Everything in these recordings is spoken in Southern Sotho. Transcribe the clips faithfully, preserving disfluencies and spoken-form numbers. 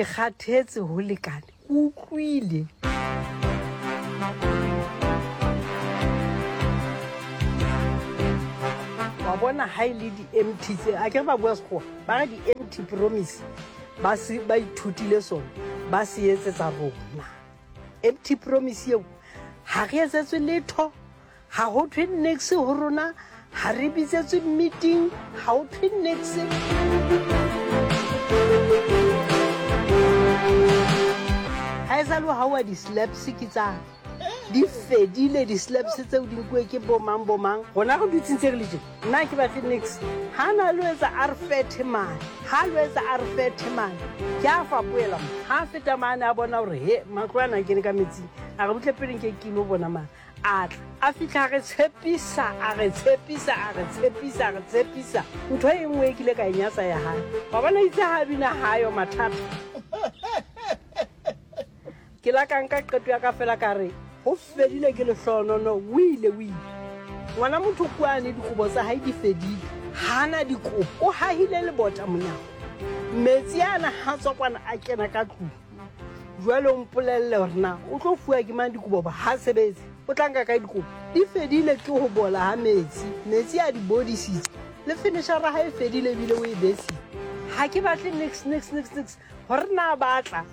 Ke kgathetse ho lekane, ke utlwile. Wa bona ha e le di-empty tse, akere ba bua Sekgowa, ba re di-empty promise, ba se ba ithutile sona, ba se etsetsa rona. Empty promise eo ha re etsetswe letho, ha ho thwe niks ho rona, ha re bitsetswe meeting, ha ho thwe niks. Ha e sale ha wa di-slaps ke tsa di fedile, di-slaps tseo di nkuwe ke bo mang bo mang. Rona re dutse ntse re le tje, nna ha ke batle niks. Ha na lo etsa a re fethe mane, ha lo etsa a re fethe mane, ke a fapohela mo. Ha a feta mane a bona hore he matlo ana a kene ka metsing, a re butle pele nke ke ilo bona mane. A tla, a fihla a re tshepisa, a re tshepisa, a re tshepisa, a re tshepisa. Ntho e nngwe e kile ka e nyatsa ya hae. Wa bona itse ha bina hayo mathata. Ke la ka nka qeto ya ka fela ka re ho fedile ke lehlohonono, o ile, o ile. Ngwana motho kwane dikobo tsa hae di fedile, hana dikobo, o hahile lebota monyako. Metsi ana ha tswa kwana a kena ka tlung. Jwale o mpolelle hore na o tlo fuwa ke mang dikobo ba ha sebetse, o tla nka kae dikobo? Di fedile ke ho bola ha metsi, metsi a di bodisitse. Le finishara ha e fedile ebile o e besitse. Ha ke batle niks, niks, niks, niks. Hore na ba tla,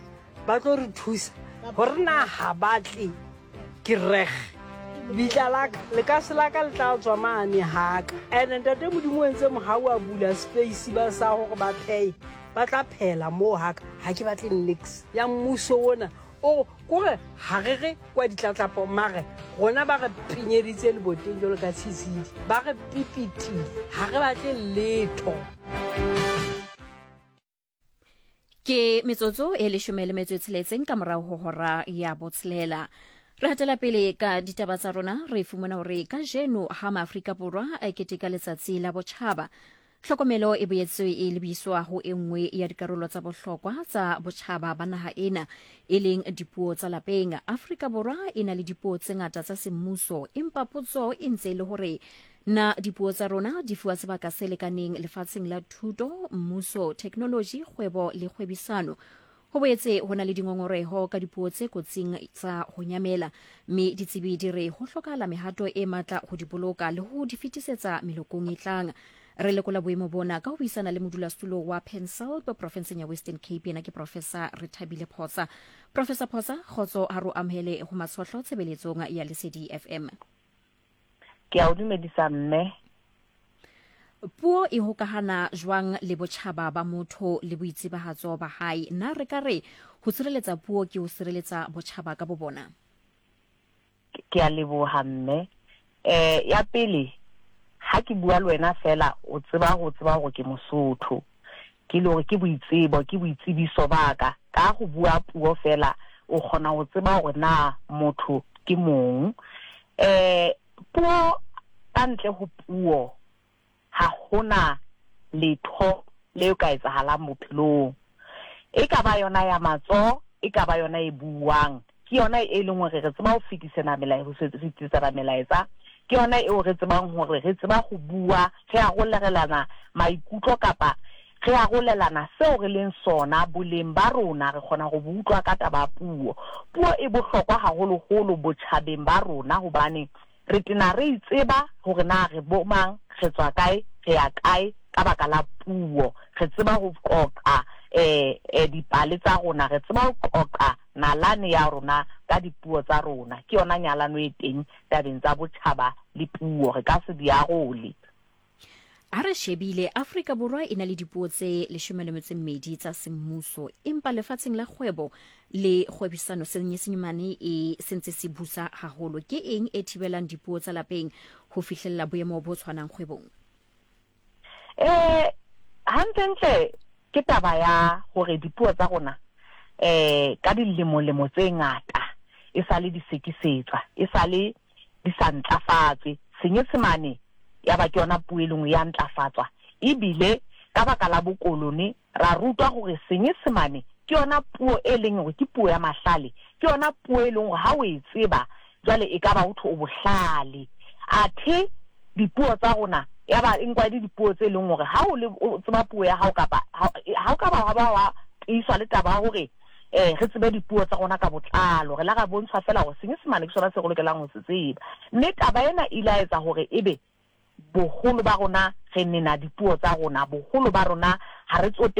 ba tlo re thusa, hore na ha ba tle, ke reg. Bitla la ka, lekase la ka le tla tswa mane haka. Ene ntate Modimo o entse mohau a bula space ba sa hore ba phehe, ba tla phehela moo haka. Ha ke batle niks ya mmuso ona. O kore ha re re kwa ditlatlapo, mare rona ba re pinyeditse leboteng jwalo ka tshitshidi, ba re pipitile, ha re batle letho. Ke metsotso e leshome le metso e tsheletseng ka morao ho hora ya botshelela. Re hatela pele ka ditaba tsa rona, re fumana hore kajeno ha Maafrika Borwa a keteka letsatsi la botjhaba, tlhokomelo e boetse e lebiswa ho e nngwe ya dikarolo tsa bohlokwa tsa botjhaba ba naha ena, e leng dipuo tsa lapeng. Afrika Borwa e na le dipuo tse ngata tsa semmuso, empa potso e ntse e le hore na dipuo tsa rona di fuwa sebaka se lekaneng lefatsheng la thuto, mmuso, theknoloji, kgwebo le kgwebisano. Ho boetse ho na le dingongoreho ka dipuo tse kotsing tsa ho nyamela, mme ditsebi di re ho hlokahala mehato e matla ho di boloka le ho di fetisetsa melokong e tlang. Re lekola boemo bona ka ho buisana le modulasetulo wa PanSALB profenseng ya Western Cape, yena ke Professor Rethabile Phosa. Professor Phosa, kgotso ha re o amohele ho Matshohlo tshebeletsong ya Lesedi F M. Ke a o dumedisa mme. Puo e hokahana jwang le botjhaba ba motho le boitsebahatso ba hae? Na re ka re ho sireletsa puo ke ho sireletsa botjhaba ka bo bona? Ke a leboha mme. Eh, ya pele, ha ke bua le wena fela, o tseba ho tseba hore ke Mosotho. Ke le hore ke boitsebo, ke boitsebiso ba ka. Ka ho bua puo fela, o kgona ho tseba hore na motho ke mong. Eh, puo, ka ntle ho puo, ha hona letho le ka etsahalang bophelong. E ka ba yona ya matsoho, e ka ba yona e buang. Ke yona e leng hore re tseba ho fetisana melaetsa, ho fetisana melaetsa. Ke yona eo re tsebang hore re tseba ho bua, re arolelana maikutlo kapa re arolelana seo re leng sona, boleng ba rona, re kgona ho bo utlwa ka taba ya puo. Puo e bohlokwa haholoholo botjhabeng ba rona hobane re tena re itseba hore na re bo mang, re tswa kae, re ya kae ka baka la puo. Re tseba ho qoqa, eh, eh, dipale tsa rona, re tseba ho qoqa nalane ya rona ka dipuo tsa rona. Ke yona nyalano e teng tabeng tsa botjhaba le puo, re ka se di arole. Ha re shebile, Afrika Borwa e na le dipuo tse leshome le metso e mmedi tsa semmuso, empa lefatsheng la kgwebo le kgwebisano Senyesemane e sentse se busa haholo. Ke eng e thibelang dipuo tsa lapeng ho fihlella boemo bo tshwanang kgwebong? Eh, hantlentle ke taba ya hore dipuo tsa rona, eh, ka dilemolemo tse ngata e sale di sekisetswa, e sale di sa ntlafatswe. Senyesemane ya ba ke yona puo e leng ya ntlafatswa, ebile ka baka la bokolone ra rutwa hore Senyesemane ke yona puo e leng hore ke puo ya mahlale, ke yona puo e leng hore ha o e tseba jwale e ka ba ho thwe o bohlale. Athe dipuo tsa rona ya ba e nkwa e le dipuo tse leng hore ha o le, o tseba puo ya hao kapa ha, ha o ka ba wa ba wa tiiswa le taba ya hore um re tsebe dipuo tsa rona ka botlalo. Re la ra bontshwa fela hore Senyesemane ke sona se re lokelang ho se tseba. Mme taba ena e ile ya etsa hore ebe boholo ba rona re nena dipuo tsa rona, boholo ba rona ha re tsote.